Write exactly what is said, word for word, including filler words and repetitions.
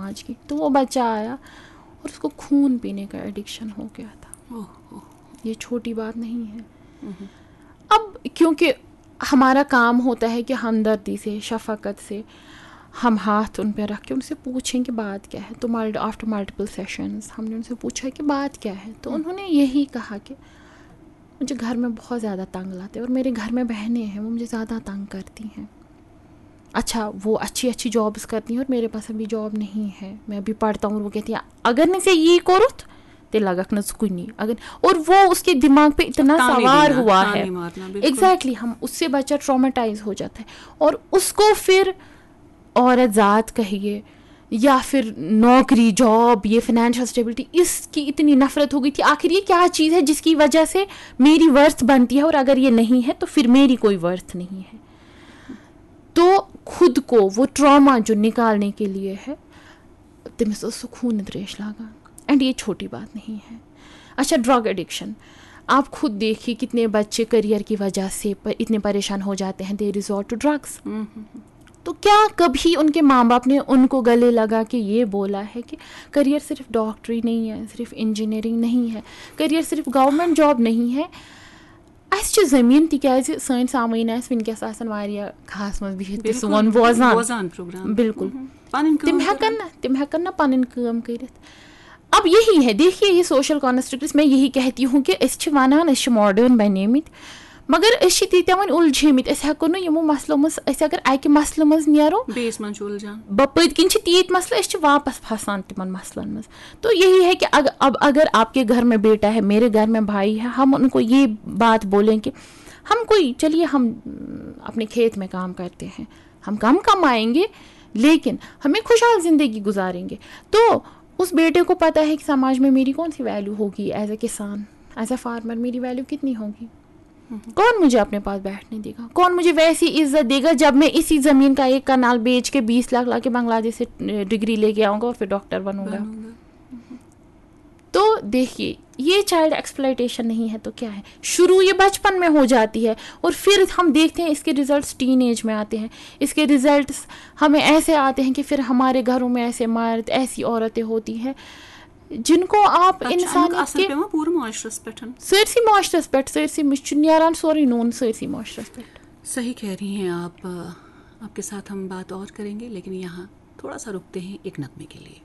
आज की, तो वो बच्चा आया और उसको खून पीने का एडिक्शन हो गया था। ये छोटी बात नहीं है। अब क्योंकि हमारा काम होता है कि हमदर्दी से, शफकत से हम हाथ उन पर रख के उनसे पूछें कि बात क्या है। तो मल्ट आफ्टर मल्टीपल सेशंस हमने उनसे पूछा कि बात क्या है। तो उन्होंने यही कहा कि मुझे घर में बहुत ज़्यादा तंग लाते हैं और मेरे घर में बहनें हैं, वो मुझे ज़्यादा तंग करती हैं। अच्छा, वो अच्छी अच्छी जॉब्स करती हैं और मेरे पास अभी जॉब नहीं है, मैं अभी पढ़ता हूँ। और वो कहती है, अगर नहीं से ये करो, ते लगक न कुनी अगर। और वो उसके दिमाग पे इतना ताने सवार देना, हुआ ताने है। मारना, बिल्कुल। एग्जैक्टली, हम उससे बच्चा ट्रॉमेटाइज हो जाता है और उसको फिर औरत जात कहिए या फिर नौकरी, जॉब, ये फाइनेंशियल स्टेबिलिटी, इसकी इतनी नफरत हो गई थी। आखिर ये क्या चीज़ है जिसकी वजह से मेरी वर्थ बनती है, और अगर ये नहीं है तो फिर मेरी कोई वर्थ नहीं है। तो खुद को वो ट्रॉमा जो निकालने के लिए है, तमिस ओस सुकून त्रेश लागा। एंड ये छोटी बात नहीं है। अच्छा, ड्रग एडिक्शन, आप खुद देखिए कितने बच्चे करियर की वजह से प-, इतने परेशान हो जाते हैं, they resort to drugs। तो क्या कभी उनके माँ बाप ने उनको गले लगा के ये बोला है कि करियर सिर्फ डॉक्टरी नहीं है, सिर्फ इंजीनियरिंग नहीं है, करियर सिर्फ गवर्नमेंट जॉब नहीं है؟ اَسہِ چھِ زٔمیٖن، تِکیٛازِ سٲنۍ سامعیٖن آسہِ وٕنکیٚس آسان واریاہ کھہَس منٛز بِہِتھ تہٕ سون بوزان۔ بوزان پروگرام۔ بِلکُل۔ پنٕنۍ کٲم تِم ہٮ۪کَن کران۔ نہٕ، تِم ہٮ۪کَن نہٕ پَنٕنۍ کٲم کٔرِتھ۔ اب یہی ہے، دیکھیے، یہ سوشل کنسٹرکٹس، میں یہی کہتی ہوں کہ أسۍ چھِ ونان أسۍ چھِ ماڈرن بنیمٕتۍ، مگر أسۍ چھِ تیٖتیٛاہ وۄنۍ اُلجھیمٕتۍ، أسۍ ہٮ۪کو نہٕ یِمو مسلو منٛز، أسۍ اگر اکہِ مسلہٕ منٛز نیرو، بیٚیِس منٛز چھُ اُلجھان۔ ب-، پٔتۍ کِنۍ چھِ تیٖتۍ مسلہٕ، أسۍ چھِ واپس پھسان تِمن مسلن منٛز۔ تو یہی ہے کہ اگ-، اب اگر آپ کے گھر میں بیٹا ہے، میرے گھر میں بھائی ہے، ہم ان کو یہ بات بولیں کہ ہم کوئی، چلیے ہم، م، اپنے کھیت میں کام کرتے ہیں، ہم کم کمائیں گے لیکن ہم ایک خوشحال زندگی گزاریں گے۔ تو اس بیٹے کو پتہ ہے کہ سماج میں میری کون سی ویلیو ہوگی، ایز اے کسان، ایز اے فارمر میری ویلیو کتنی ہوگی۔ کون مجھے اپنے پاس بیٹھنے دے گا؟ کون مجھے ویسی عزت دے گا جب میں اسی زمین کا ایک کنال بیچ کے بیس لاکھ لا کے بنگلہ دیش سے ڈگری لے کے آؤں گا اور پھر ڈاکٹر بنوں گا؟ تو دیکھیے، یہ چائلڈ ایکسپلائٹیشن نہیں ہے تو کیا ہے؟ شروع یہ بچپن میں ہو جاتی ہے اور پھر ہم دیکھتے ہیں اس کے ریزلٹس ٹین ایج میں آتے ہیں، اس کے ریزلٹس ہمیں ایسے آتے ہیں کہ پھر ہمارے گھروں میں ایسے مرد، ایسی عورتیں ہوتی ہیں جن کو آپ تَتھ چھُ اَمیُک انسانیت اثر کے پٮ۪وان پوٗرٕ معاشرس پٮ۪ٹھ۔ سٲرسٕے معاشرس پٮ۪ٹھ، سٲرسٕے مُش-، چھُ نیران سورُے نوٗن سٲرسٕے معاشرس پٮ۪ٹھ۔ صحیح کہہ رہی ہیں آپ۔ آپ کے ساتھ ہم بات اور کریں گے، لیکن یہاں تھوڑا سا رکتے ہیں ایک نغمے کے لیے۔